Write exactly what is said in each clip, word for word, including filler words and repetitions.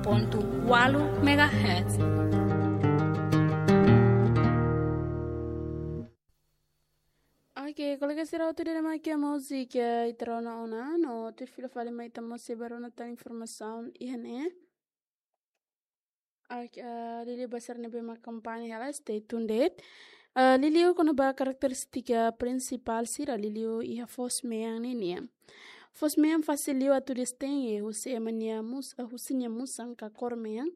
pontu ualu megahertz. Oke, kolega sira hotu, ida-ne'e mak múzika ita rona ona, no tuir fila fali mai ita mós sei bá rona tan informasaun iha ne'e. Oke, eh, liuliu ba sira ne'ebé mak akompaña hela, stay tuned. Eh, liuliu kona-ba karakterístika prinsipál sira liuliu iha foos-mean ninian. Foos-mean fasil liu atu distenge husi ema nia mus-, eh, husi nia musan ka kór mean.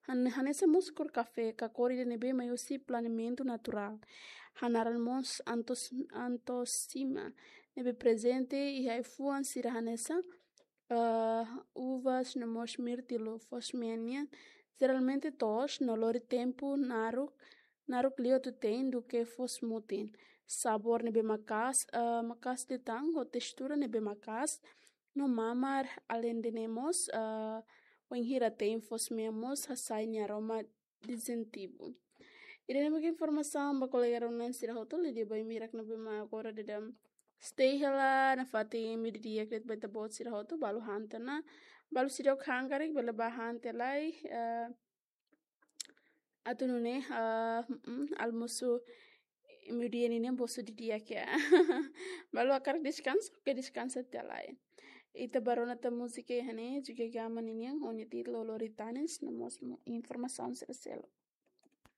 Han-, hanesan mós kór kafé ka kór ida ne'ebé mai husi planeamentu naturál. Hanaran mós antos-, antosima ne'ebé prezente iha ai-fuan sira hanesan, eh, uvas no mós mirtilu. Foos-mean nian jeralmente toos no lori tempu naruk, naruk liu atu te'in duké foos-mutin. Sabór ne'ebé maka'as, eh, maka'as liután ho testura ne'ebé maka'as no mamar, aleinde ne'e mós, eh, wainhira te'in foos-mean mós hasai nia aroma distintivu. Ida-ne'e mak informasaun ba kolega rona sira hotu, liuliu ba imi hirak ne'ebé mak agora daudaun stay hela, nafatin meiudia di'ak de'it ba ita-boot sira hotu, balu han tiha ona, balu seidauk han karik bele bá han tiha lai, eh, atu nune'e, eh, mm, almosu meiudia ninian bosu didi'ak ya. Balu hakarak deskansa, oke, deskansa tiha lai. Ita bá rona tan múzika iha ne'e, Juga Gama ninian, ho nia títulu Lori Tanis, no mós mo-, informasaun sira seluk.